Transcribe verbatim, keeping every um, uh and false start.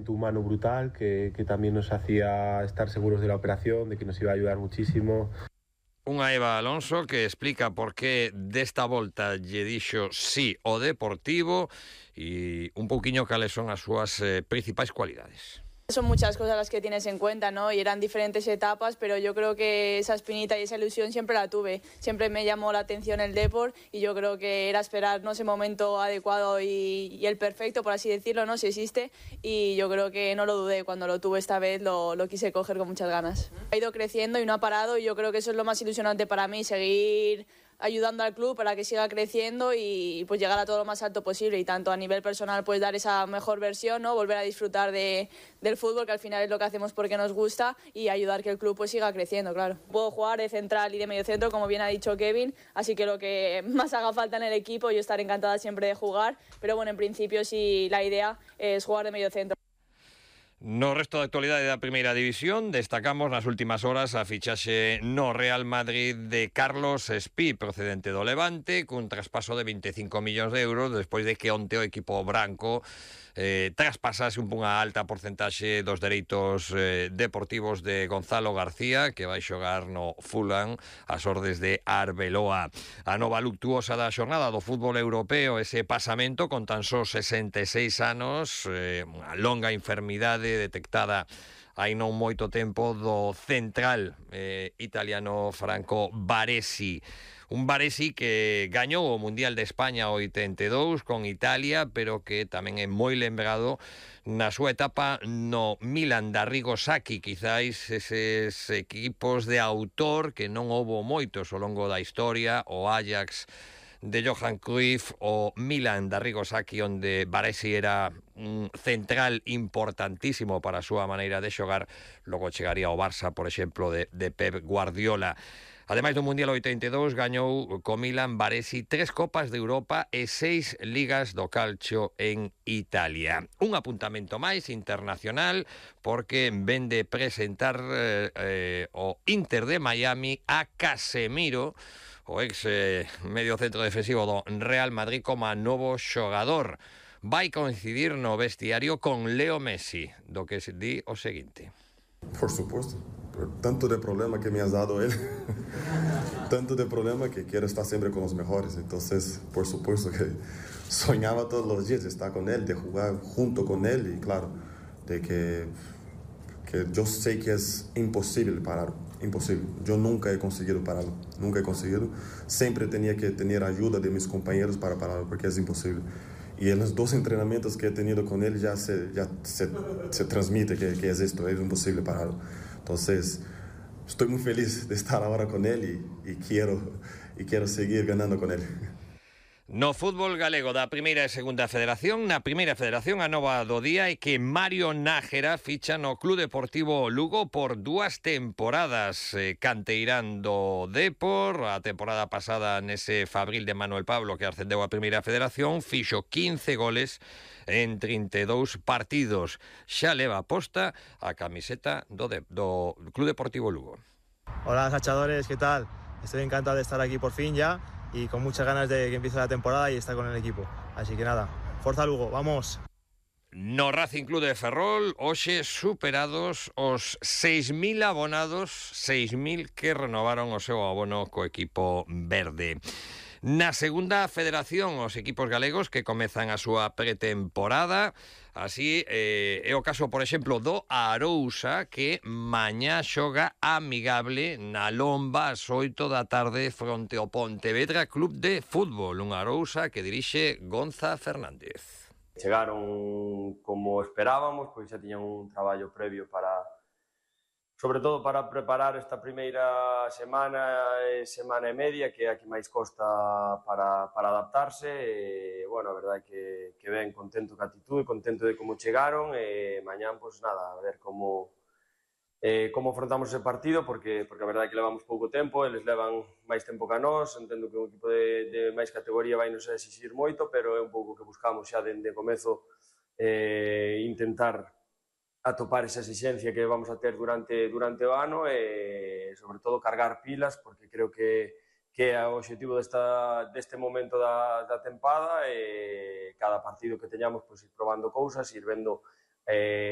humano brutal que, que también nos hacía estar seguros de la operación, de que nos iba a ayudar muchísimo. Unha Eva Alonso que explica por qué desta volta lle dixo sí o Deportivo e un pouquiño cales son as súas eh, principais cualidades. Son muchas cosas las que tienes en cuenta, ¿no? Y eran diferentes etapas, pero yo creo que esa espinita y esa ilusión siempre la tuve. Siempre me llamó la atención el Depor y yo creo que era esperar, ¿no?, ese momento adecuado y, y el perfecto, por así decirlo, ¿no?, si existe. Y yo creo que no lo dudé. Cuando lo tuve esta vez lo, lo quise coger con muchas ganas. Ha ido creciendo y no ha parado y yo creo que eso es lo más ilusionante para mí, seguir ayudando al club para que siga creciendo y pues llegar a todo lo más alto posible, y tanto a nivel personal pues dar esa mejor versión, ¿no?, volver a disfrutar de, del fútbol, que al final es lo que hacemos porque nos gusta, y ayudar que el club pues siga creciendo, claro. Puedo jugar de central y de medio centro, como bien ha dicho Kevin, así que lo que más haga falta en el equipo, yo estaré encantada siempre de jugar, pero bueno, en principio sí, la idea es jugar de medio centro. No resto da actualidade da Primeira División, destacamos nas últimas horas a fichaxe no Real Madrid de Carlos Espí, procedente do Levante, cun traspaso de veinticinco millóns de euros, despois de que onte o equipo branco eh, traspasase unha alta porcentaxe dos dereitos eh, deportivos de Gonzalo García, que vai xogar no Fulham ás ordes de Arbeloa. A nova luctuosa da xornada do fútbol europeo, ese pasamento con tan só sesenta e seis anos, eh, unha longa enfermidade detectada hai non moito tempo do central eh, italiano Franco Baresi. Un Baresi que gañou o Mundial de España oitenta e dous con Italia, pero que tamén é moi lembrado na súa etapa no Milan da Arrigo Sacchi, quizáis eses equipos de autor que non houbo moitos ao longo da historia, o Ajax de Johan Cruyff, o Milan da Arrigo Sacchi, onde Baresi era un central importantísimo para a súa maneira de xogar. Logo chegaría ao Barça, por exemplo, de, de Pep Guardiola. Ademais do Mundial oitenta e dous, gañou co Milan Baresi tres Copas de Europa e seis Ligas do Calcio en Italia. Un apuntamento máis internacional, porque vende presentar eh, eh, o Inter de Miami a Casemiro, o ex eh, medio centro defensivo do Real Madrid, como novo xogador. Vai coincidir no vestiario con Leo Messi, do que se di o seguinte. Por supuesto, tanto de problema que me has dado él, tanto de problema que quiero estar siempre con los mejores, entonces por supuesto que soñaba todos los días de estar con él, de jugar junto con él, y claro, de que, que yo sé que es imposible parar, imposible, yo nunca he conseguido pararlo, nunca he conseguido, siempre tenía que tener ayuda de mis compañeros para pararlo, porque es imposible. Y en los dos entrenamientos que he tenido con él ya se, ya se, se transmite que, que es esto, es imposible pararlo. Entonces, estoy muy feliz de estar ahora con él y, y, quiero, y quiero seguir ganando con él. No fútbol galego da Primeira e Segunda Federación, na Primeira Federación a nova do día é que Mario Nájera ficha no Club Deportivo Lugo por dúas temporadas. Eh, canteirán do Depor, a temporada pasada nese Fabril de Manuel Pablo que ascendeu a Primeira Federación, fixo quince goles en trinta e dous partidos. Xa leva posta a camiseta do, de, do Club Deportivo Lugo. Hola, Sachadores, ¿qué tal? Estoy encantado de estar aquí por fin ya, y con muchas ganas de que empiece la temporada y estar con el equipo. Así que nada, Forza Lugo, vamos. No Racing Club de Ferrol, hoxe superados os seis mil abonados, seis mil que renovaron o seu abono co equipo verde. Na Segunda Federación, os equipos galegos que comezan a súa pretemporada. Así eh, é o caso, por exemplo, do Arousa, que mañá xoga amigable na Lomba ás oito da tarde fronte ao Pontevedra Club de Fútbol. Un Arousa que dirixe Gonza Fernández. Chegaron como esperábamos, pois xa tiñan un traballo previo para, sobre todo para preparar esta primeira semana e semana e media, que é a que máis costa para, para adaptarse. E, bueno, a verdade é que, que ben, contento ca actitude, contento de como chegaron, e mañán, pois nada, a ver como, eh, como afrontamos ese partido, porque, porque a verdade é que levamos pouco tempo, eles levan máis tempo que a nós, entendo que un equipo de, de máis categoría vai nos exixir moito, pero é un pouco que buscamos xa dende comezo eh, intentar atopar esa exigencia que vamos a ter durante, durante o ano e, sobre todo, cargar pilas, porque creo que, que é o objetivo desta, deste momento da, da tempada e cada partido que teñamos, pois, ir probando cousas, ir vendo eh,